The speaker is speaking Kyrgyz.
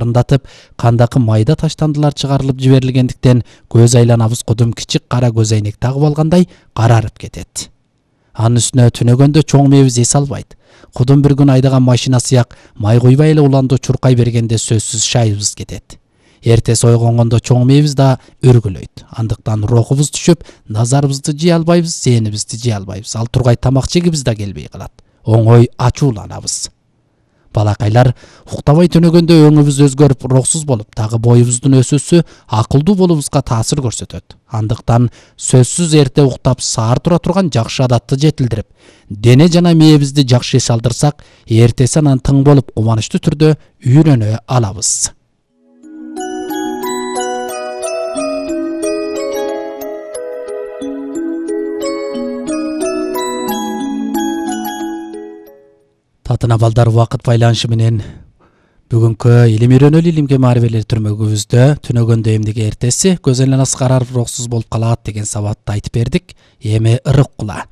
арындатып, кандакы майда таштандылар чыгарылып жиберилгендиктен көз айланабыз кудум кичик кара көз айнек тагып алгандай карарып кетет. Анын үстүнө түнөгөндө чоң мээбиз эс албайт. Кудум бир күн айдаган машина сыяк май куйбай эле уланды чуркай бергенде сөзсүз шайыбыз кетет. Эртеси ойгонгондо чоң мээбиз да өргүлөйт. Андыктан рухубуз түшүп, назарыбызды жие албайбыз, зээнибизди жие албайбыз. Ал тургай тамак жегибиз да келбей калат. Оңой ачууланабыз. Балакайлар, уктабай түнөгөндө өңүбүз өзгөрүп, рухсуз болуп, дагы боюбуздун өсүүсү акылдуу болуубузга таасир көрсөтөт. Андыктан сөзсүз эрте уктап, саар тура турган жакшы адатты жетилдирип, дене жана мээбизди жакшы эс алдырсак, эртеси анан тың болуп, кубанычтуу түрдө үйрөнө алабыз. Татына балдар, убакыт байланышы менен бүгүнкү илим үйрөнөлү илимге маарифелер түрмөгүбүздө түнөгөндө эмнеге эртеси көз айланасы карарып рухсуз болуп калат деген сабатты айтып бердик. Эми ырык кула.